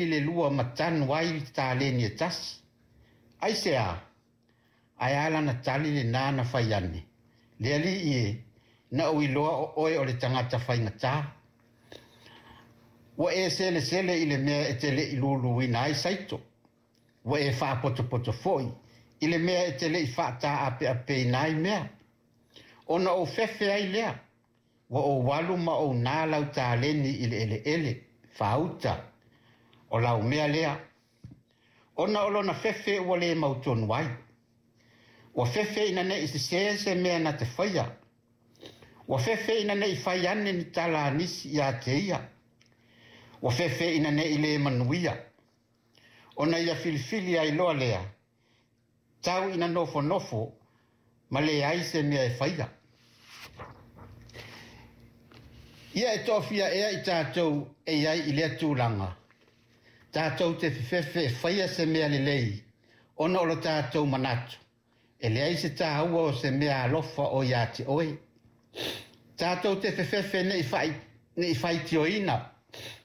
le lua ma tanu ai le taleni e tasi. Aisea? Ae a lana tali lenā na fai ane, Le Alii e, na ou iloa o oe o le tagata faigata. Ua e selesele i le mea e te le i luluina ai saito. Ua e faapotopoto foi i le mea e te le i faataapeapeina ai mea. Ona ou fefe ai lea, ua ou alu ma ou na lau taleni i le eleele, faauta, o lau mea lea. Ona o lona fefe ua le mautonu ai. Ua fefe ina ne i sesē se mea na te faia. Ua fefe ina ne i fai ane ni tala a nisi ia te ia. Ua fefe ina ne i le manuia. Ona ia filifili ai loa lea, tau ina nofonofo ma leai se mea e faia. Ia e toafia ea i tatou e i ai i lea tulaga, tatou te fefefe e faia se mea lelei ona o lo tatou manatu, e leai se tāua o se mea alofa o ia te oe. Tatou te fefefe ne i faitioina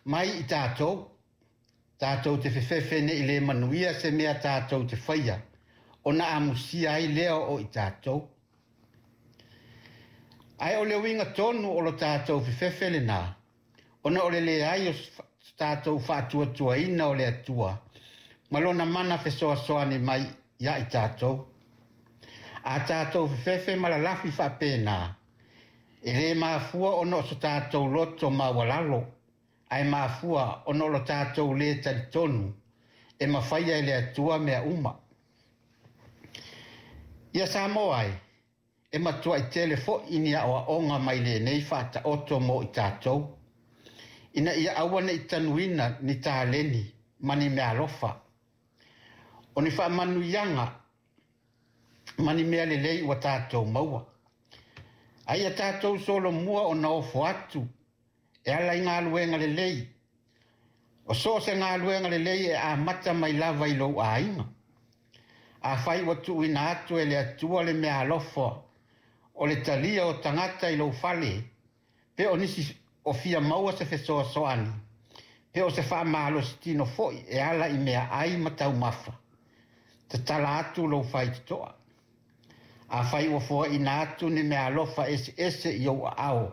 mai i tatou. Tatou te fefefe ne i le manuia se mea tatou te faia, ona amusia ai lea o i tatou. Ae o le uiga tonu o lo tatou fefefe lenā, ona o le leai o so tatou faatuatuaina o le Atua ma lona mana fesoasoani mai ia i tatou. A tatou fefefe ma lalafi faapena, e le mafua ona o so tatou loto maualalo, ae mafua ona o lo tatou le talitonu e mafaia e le Atua mea uma. Ia Samoa e, e matuai tele foi ni aoaoga mai lenei faataoto mo i tatou, ina ia aua ne i tanuina ni taleni ma ni meaalofa, o ni faamanuiaga ma ni mea lelei ua tatou maua. A ia tatou solomua ona ofo atu e ala i galuega lelei. O so o se galuega lelei e amata mai lava i lou aiga. Afai ua tuuina atu e le Atua le meaalofa o le talia o tagata i lou fale, pe o nisi o fia maua se fesoasoani, pe o se faamalositino foi e ala i meaai ma taumafa, tatala atu lou faitotoa. Afai ua foaina atu ni meaalofa eseese i ou aao,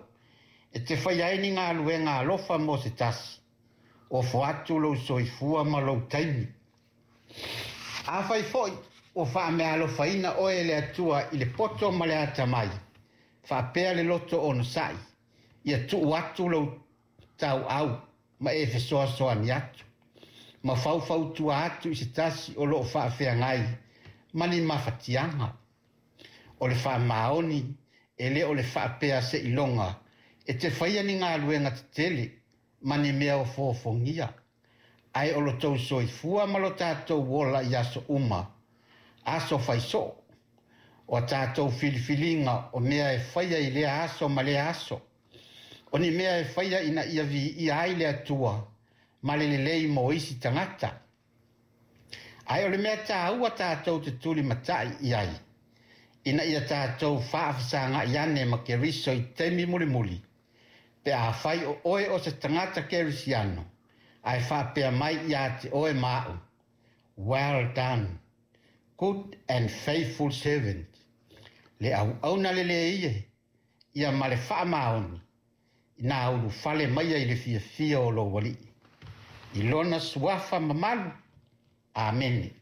e te faia ai ni galuega alofa mo se tasi, ofo atu lou soifua ma lou taimi. Afai foi ua faameaalofaina oe e le Atua i le poto ma le atamai, faapea le loto onosai, ia tuu atu lou tauau ma e fesoasoani atu, ma faufautua atu i se tasi o lo o faafeagai ma ni mafatiaga. O le faamaoni e le o le faapea seiloga e te faia ni galuega tetele ma ni mea ofoofogia, ae o lo tou soifua ma lo tatou ola i aso uma, aso faisoo, o a tatou filifiliga o mea e faia i lea aso ma lea aso, o ni mea e faia ina ia viia ai le Atua ma le lelei mo isi tagata. Ae o le mea tāua tatou te tulimatai i ai, ina ia tatou faafesagai ane ma Keriso i taimi mulimuli, pe afai o oe o se tagata kerisiano, ae faapea mai ia te oe ma au, Well done, good and faithful servant. Le auauna lelei e, ia ma le faamaoni, ina ulufale maia i le fiafia o lou Alii. I lona suafa mamalu. Amene.